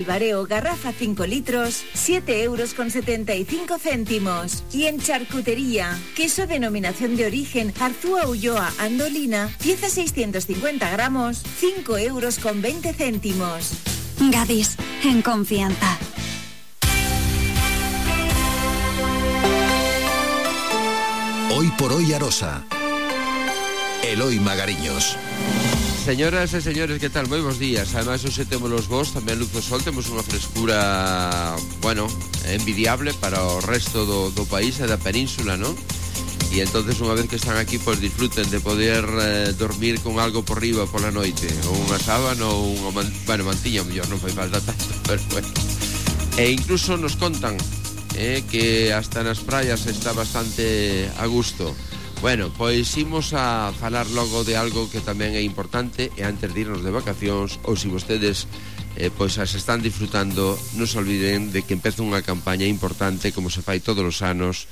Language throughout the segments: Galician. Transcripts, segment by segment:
Bareo garrafa 5 litros, 7,75 €. Y en charcutería, queso denominación de origen Arzúa Ulloa Andolina, pieza 650 gramos, 5,20 €. Gadis, en confianza. Hoy por hoy Arosa. Eloi Magariños. Señoras e señores, que tal? Moi bons días. Ademais, hoxe temos os vos, tamén luz do sol. Temos unha frescura, bueno, envidiable para o resto do país e da península, non? E entonces, unha vez que están aquí, pois disfruten de poder dormir con algo por riba pola noite, ou unha sábana ou unha mantiña, mellor non fai falta tanto, pero bueno. E incluso nos contan que hasta nas praias está bastante a gusto. Bueno, pois imos a falar logo de algo que tamén é importante, e antes de irnos de vacacións, ou se vostedes pois as están disfrutando, non se olviden de que empeza unha campaña importante, como se fai todos os anos,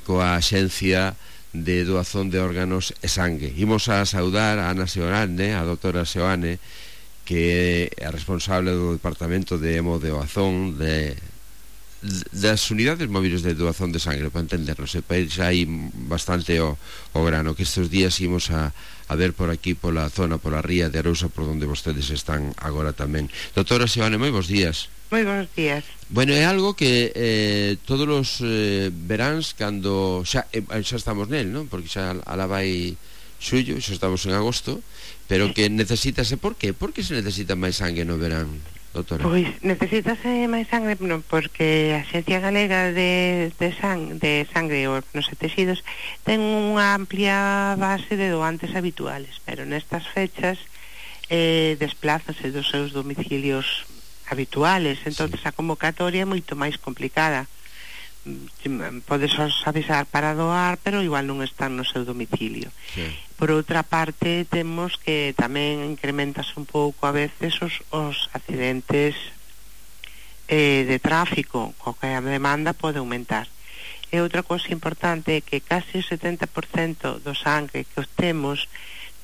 coa Axencia de Doazón de Órganos e Sangue. Imos a saudar a Ana Seoane, a doutora Seoane, que é a responsable do Departamento de Hemodoazón das unidades móviles de doazón de sangre, para entendernos, pois hai bastante o grano, que estes días imos a ver por aquí, pola zona, pola ría de Arousa, por onde vostedes están agora tamén. Doutora Seoane, moi bons días. Moi bons días. Bueno, é algo que todos os veráns, cando xa estamos nel, non? Porque xa alá vai xullo, xa estamos en agosto, pero que necesítase, por qué? Por que se necesita máis sangue no verán, doutora? Pois necesítase máis sangue porque a Axencia Galega de Sangre e Órganos e Tecidos ten unha amplia base de doantes habituales, pero nestas fechas desplázanse dos seus domicilios habituales, entonces a convocatoria é moito máis complicada. Podes avisar para doar, pero igual non están no seu domicilio. Sí. Por outra parte, temos que tamén incrementas un pouco a veces os accidentes de tráfico, co que a demanda pode aumentar. E outra cousa importante é que case o 70% do sangue que obtemos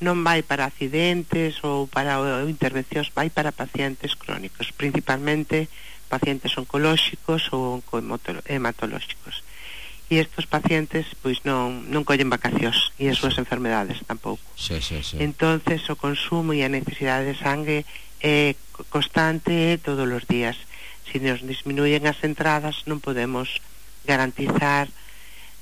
non vai para accidentes ou para intervencións, vai para pacientes crónicos, principalmente pacientes oncolóxicos ou hematolóxicos. E estes pacientes pois non collen vacacións e as súas enfermedades tampouco. Sí. Entonces o consumo e a necesidade de sangue é constante todos os días. Se nos disminuyen as entradas, non podemos garantizar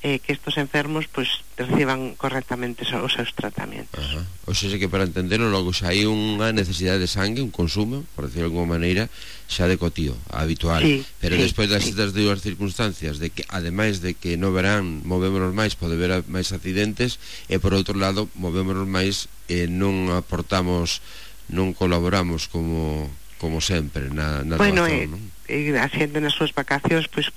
que estos enfermos pois reciban correctamente os seus tratamentos. O sea, que para entenderlo logo xa hai unha necesidade de sangue, un consumo, por decirlo de alguma maneira, xa de cotío, habitual. Sí, pero despois das dúas circunstancias de que, ademais de que no verán movémonos máis, pode haber máis accidentes, e por outro lado movémonos máis e non aportamos, non colaboramos como sempre na doazón, non? A xente nas súas vacacións, pois,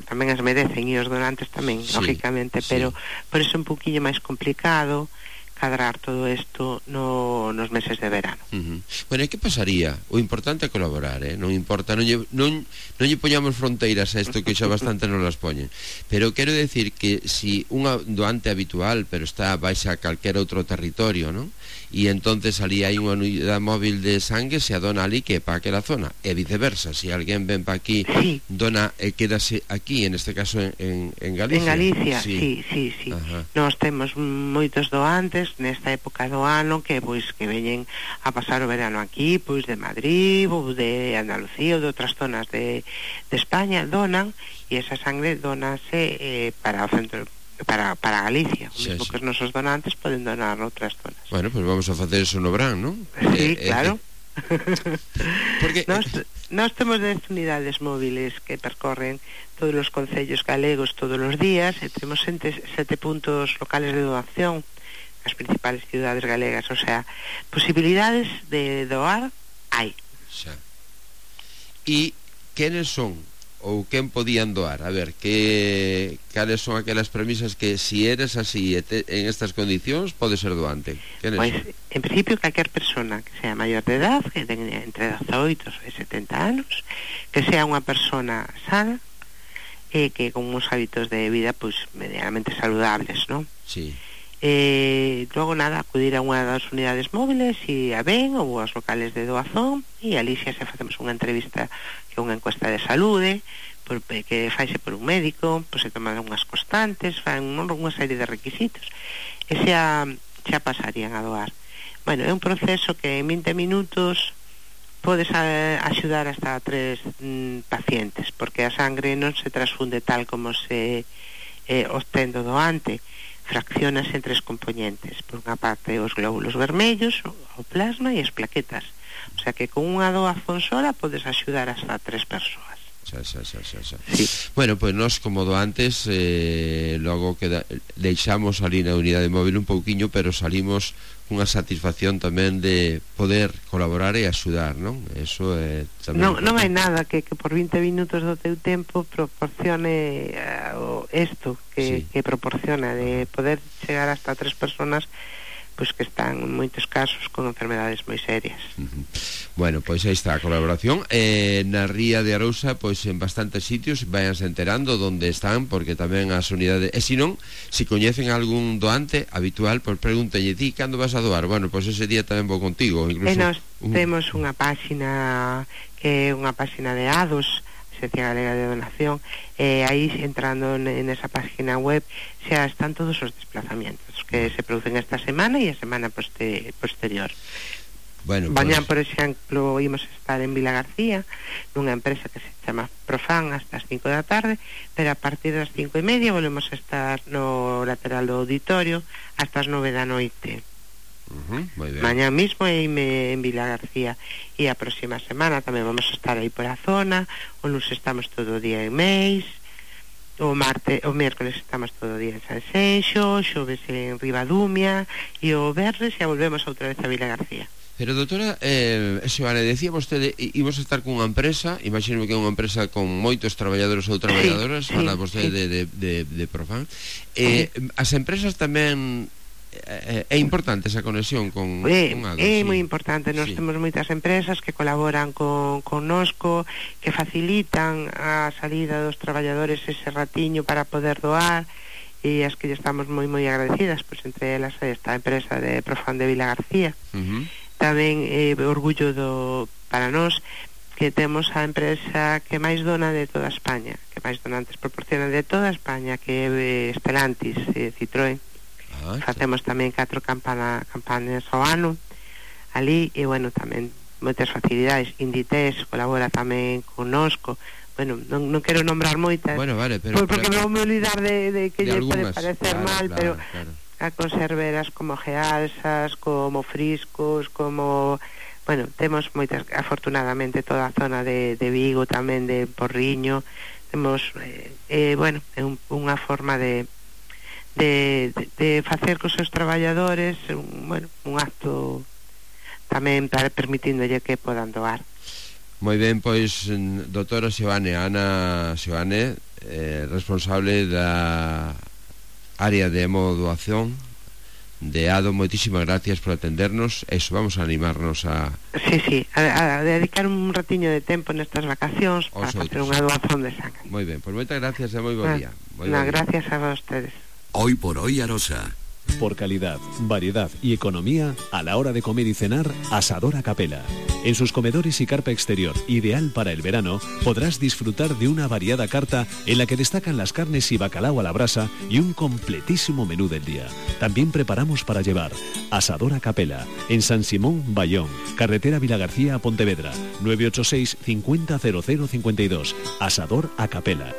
tamén as merecen, e os donantes tamén, lógicamente, pero por eso é un poquinho máis complicado cadrar todo isto nos meses de verano. Bueno, e que pasaría? O importante é colaborar, non importa, non lle poñamos fronteiras a isto, que xa bastante non las poñen, pero quero decir que si unha doante habitual, pero vais a calquera outro territorio, non? E entonces ali hai unha unidade móvil de sangue, se adona ali que é para aquela zona, e viceversa, se alguén ven para aquí, dona e quedase aquí, en este caso en Galicia. En Galicia, sí. Nós temos moitos doantes nesta época do ano que veñen a pasar o verano aquí, pois de Madrid ou de Andalucía ou de outras zonas de España, donan, e esa sangre donase para o centro, para Galicia, o mesmo que os nosos donantes poden donar outras zonas. Bueno, pois vamos a facer eso no verán, non? Sí, claro. Porque nós temos 10 unidades móviles que percorren todos os concellos galegos todos os días, e temos 7 puntos locales de doación nas principales ciudades galegas, o sea, posibilidades de doar hai. E quenes son ou quen podían doar? A ver, cales son aquelas premisas que si eres así en estas condicións pode ser doante? Pois, en principio, calquer persona que sea maior de edad, que tenga entre 18 e 70 anos, que sea unha persona sana e que con uns hábitos de vida pois medianamente saludables, non? Sí. Logo nada, acudir a unha das unidades móviles e a ven ou aos locales de doazón, e ali xa se facemos unha entrevista, que é unha encuesta de saúde, que faise por un médico, pois se toman unhas constantes, fan unha serie de requisitos, e xa pasarían a doar. Bueno, é un proceso que en 20 minutos podes axudar hasta 3 pacientes, porque a sangre non se transfunde tal como se obtén do doante, fraccionas en 3 componentes. Por unha parte, os glóbulos vermellos, o plasma e as plaquetas. O sea que con unha doazón sola podes axudar hasta 3 persoas. Sí. Bueno, pues nós como doantes logo que deixamos ali na unidade móvil un pouquiño, pero salimos cunha satisfacción tamén de poder colaborar e axudar, non? Eso é tamén non hai nada que por 20 minutos do teu tempo proporcione isto que proporciona, de poder chegar hasta 3 personas pois que están en moitos casos con enfermedades moi serias. Bueno, pois aí está a colaboración na Ría de Arousa, pois en bastantes sitios vayanse enterando onde están, porque tamén as unidades, e se non, se coñecen algún doante habitual, pois pregúntalle ti, cando vas a doar? Bueno, pois ese día tamén vou contigo. Incluso nós temos unha páxina que é unha páxina de ADOS, Agencia Galega de Donación, aí entrando nesa página web xa están todos os desplazamientos que se producen esta semana e a semana posterior. Bueno, mañá, por exemplo, imos estar en Vila García nunha empresa que se chama Profan hasta as 5 da tarde, pero a partir das 5:30 volvemos a estar no lateral do auditorio hasta as 9 da noite. Mañá mismo en Vila García, e a próxima semana tamén vamos a estar aí por a zona. O lunes estamos todo o día en Meis, o mércoles estamos todo o día en Sanxenxo, xoves en Ribadumia, e o venres xa volvemos outra vez a Vila García. Pero doutora, Xoane, decía vostede, imos estar cunha empresa, imagino que é unha empresa con moitos traballadores ou traballadoras, fala vostede de Profan. As empresas tamén é importante esa conexión con ADOS. É moi importante. Nós temos moitas empresas que colaboran con nosco, que facilitan a salida dos traballadores ese ratiño para poder doar, e as que estamos moi agradecidas, pois entre elas esta empresa de Profan de Vila García. Tamén orgullo para nós que temos a empresa que máis dona de toda España, que máis donantes proporciona de toda España, que é Stellantis, Citroën. Facemos tamén 4 campañas ao ano ali, e bueno, tamén moitas facilidades. Inditex colabora tamén connosco. Bueno, non quero nombrar moitas, vale, pero porque non me olvidar de que lle pode parecer mal, pero claro. A conserveras como Gealsas, como Friscos, como... Bueno, temos moitas, afortunadamente toda a zona de Vigo, tamén de Porriño. Temos, bueno, é unha forma de facer cos seus traballadores un acto tamén permitíndolle que podan doar. Moi ben, pois doutora Xoane, Ana Xoane, responsable da área de hemodoación de ADO, moitísimas gracias por atendernos. Eso, vamos a animarnos a dedicar un ratiño de tempo nestas vacacións para facer unha doación de sangre. Moi ben, pois moitas gracias e moi bo día. Gracias a vostedes. Hoy por hoy Arosa. Por calidad, variedad y economía, a la hora de comer y cenar, Asador a Capela. En sus comedores y carpa exterior, ideal para el verano, podrás disfrutar de una variada carta en la que destacan las carnes y bacalao a la brasa y un completísimo menú del día. También preparamos para llevar. Asador a Capela, en San Simón, Bayón, carretera Vilagarcía a Pontevedra, 986 50 00 52. Asador a Capela.